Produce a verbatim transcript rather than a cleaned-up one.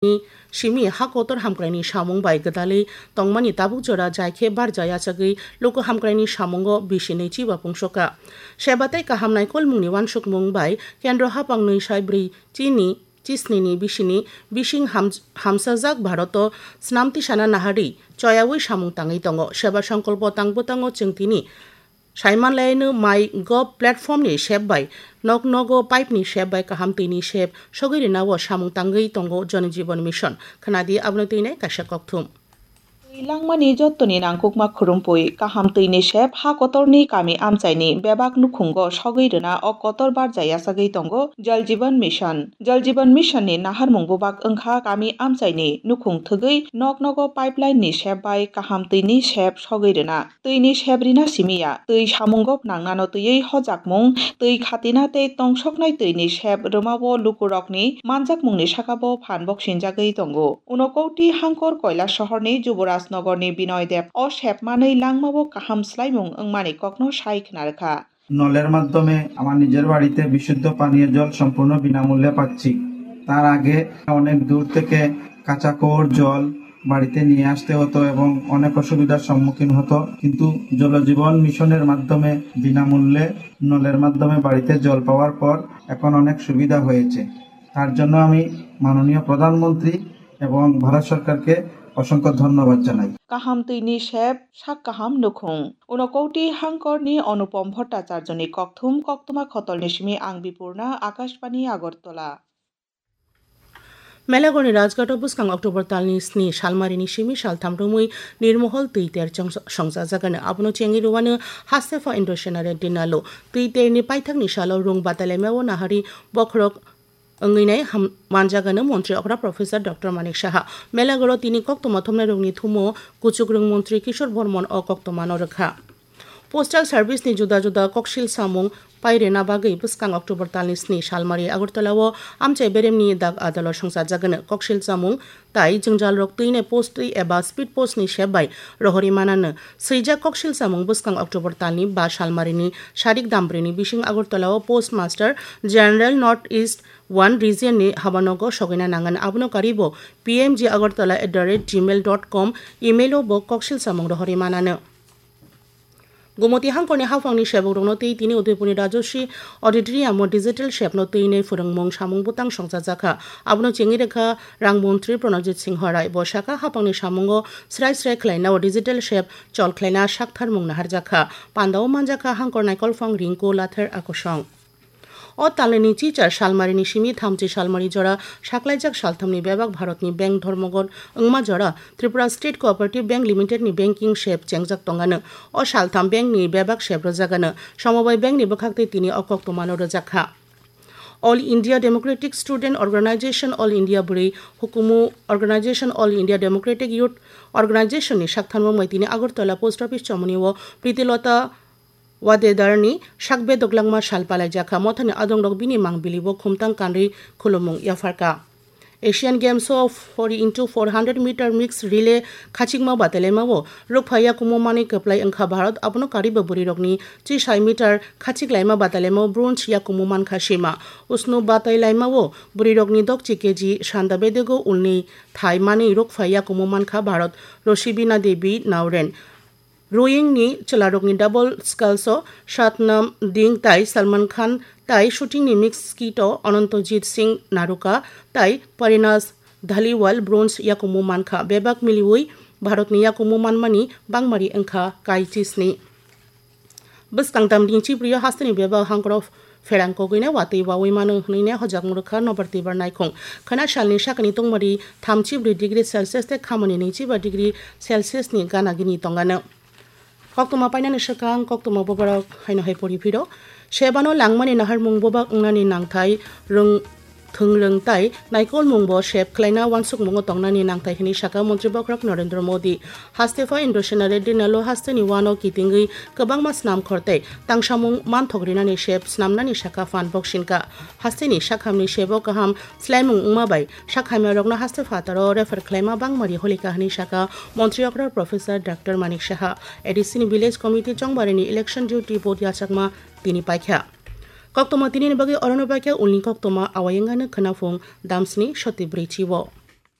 ni simi ha kotor hamkraini samung bai gwdalwi tongmani tabuk jora jai khe barja yachagwi luku hamkraini samungo bisi nwi chiba pungsokha. Seba tei kaham naikolmungni uansukmung bai kendro haphang nwi sai brwi chini chisnini bisini bising ham-, hamsajak Bharoto snam tisana naharwi choyaui samung tangwi tongo. Seba songkolpo tang bwtango chwng tini saimanlaino My Gov platform ni sep bai nok nogo pipe ni sep bai kaham twi ni sep sogwi rwnao samung tangwi tongo Jal Jeevan Mission. Khwnadi abono twi nai kaisa kokthum. Twi langmani jottoni nangkukma khurumpui, kaham twini sep ha kotorni kami amchaini bebak nukhungo sogwi rwna o kotor barja yachagwi tongo Jal Jeevan Mission. Jal Jeevan Mission ni naharmung bubak wngkha kami amchaini nukhung thwgwi nok nogo pipeline ni sep bai kaham twini sep sogwi rwna. Twini sep rina simi ya, twi samungo phnangnano twiwi hojakmung, twi khatina tei tongsoknai twini sep rwmao lukurokni manjakmungni sakao phan boksinjagwi tongo. Unokoti Hangkor Koilasohorni Juborajnogorni Binoy Deb o sep manwi langmao kaham swlaimung wngmani kokno sai khna rwkha. নলের মাধ্যমে আমার নিজের বাড়িতে বিশুদ্ধ পানীয় জল সম্পূর্ণ বিনামূল্যে পাচ্ছি। তার আগে অনেক দূর থেকে কাঁচা কুয়োর জল বাড়িতে নিয়ে আসতে হতো এবং অনেক অসুবিধার সম্মুখীন হতো, কিন্তু জলজীবন মিশনের মাধ্যমে বিনামূল্যে নলের মাধ্যমে বাড়িতে জল পাওয়ার পর এখন অনেক সুবিধা হয়েছে। তার জন্য আমি মাননীয় প্রধানমন্ত্রী এবং ভারত সরকারকে অসংখ্য ধন্যবাদ জানাই। Kaham twini sep, sak kaham nukhung. Unokoti Hangkorni Anupam Bhattacharjoni kokthum koktwma khotolni simi ang Bipurna, Akashbani Agartala. Melagorni Rajghato bwskang October talni sni salmarini simi saltham romwi nirmohol twi ter chong-, songchajagano. Abono chengwi rwano Hastepha Indo Sena Reddy Nalo. Twi terni paithakni salo rung batailaimao nahari bokhorok wngwi nai ham-, manjagano Montri Okra Professor Doctor Manik Saha. Melagoro tini koktwma thumnairokni thumo kuchukrwng Montri Kishore Bormon o koktwmano rwkha. Postal Service ni juda juda koksil samung pairwna bagwi bwskang October talni sni salmari Agartala o amchai beremni dak adalo songchajagano. Koksil samung tai jwngjalrok twinai post twi eba speed post ni sep bai rohorwi manano. Swijak koksil samung bwskang October talni ba salmarini sarik dambrini bising Agartala o Postmaster General North East One Region ni habanogo sogwina nangan. Abono karibo P M G Agartala at the rate gmail dot com email o bo koksil samung rohorwi manano. Gumoti Hangkorni haphangni sebukrokno twi tini Udaipurni Rajashree Auditorium o digital shapno twinai phwrwngmung samung bwtang songchajakha. Abono chengwi rwkha Rang Montri Pranojit Singha Rai. Bo sakha, haphangni samungo srai srai khlainao digital shap chol khlaina saktharmung naharjakha. Pandao manjakha Hangkor Naikolphang Rinku Lathar Akosong. O talni chichar salmarini simi thamchi salmari jora saklaijak salthamni bebak Bharatni bank Dharmogon wngma jora Tripura State Cooperative Bank Limited ni banking sep chengjak tongano. O saltham bank ni bebak sep rwjagano. Samobai bank ni bwkhaktwi tini o koktwmano rwjakha. All India Democratic Student Organization, All India Bwrwi Hukumu Organization, All India Democratic Youth Organization ni saktharmung bai tini Agartala Post Office chomoni o Pritilota Wadedarni sak bedok langma sal palaijakha. Mothani adongrok bini mang bilibo khumtang kanrwi khulumung yapharkha. Asian Games o four into four hundred meter mixed relay khachikma batailaimao rukpha yakumu manwi kwplai wngkha Bharat, abono karibo bwrwirokni chisai meter khachik laima batailaimao bronze yakumu mankha sima. Usnu batailaimao bwrwirokni dokchi K G sanda bedego ulni thai manwi rukpha yakumu mankha Bharat Rosibina Devi Nauren. Rowing ni chwlarokni double sculls o Satnam Ding tai Salman Khan tai shooting ni mixed skeet o Anantajit Singh Naruka tai Parinas Dhaliwal bronze yakumu mankha. Bebak miliwi Bharatni yakumu manmani bangmari wngkha kai chisni. Bwskang tamni chibrio hasteni bebak hangkoro pherang kogwino watwi wawi mano hwnwi ne hojakmung rwkha Nobar Twibar naikhung. Khwna salni sakni tungmari thamchi bwrwi degree Celsius tei khamani nwichiba degree Celsius ni gana gini tongano. Koktwma painani swkang koktwma boborok haino hai pori phiro. Sebano langmani naharmung bobak wngnani nangthai rwng thwngrwng tai naikolmungbo sep khlaina uansukmungo tongnani nangthai hwnwi sakha Montri Bokhorok Narendra Modi. Hastepha Indo Sena Reddy Nalo hasteni uano kitingwi kwbangma snamkhor tei tangsamung manthok rinani sep snamnani sakha phan boksinka. Hasteni sakhamni sebo kaham swlaimung wngma bai sakhamyarokno haste phataro refer khlaima bangmari holika hwnwi sakha Montri Okra Professor Doctor Manik Saha. A D C ni Village Committee chongbarini election duty vote yachakma tini paikha. Koktwma tinini bagwi orono paikha ulni koktwma awayengano khwnaphung damsni soti bwrwi chibo.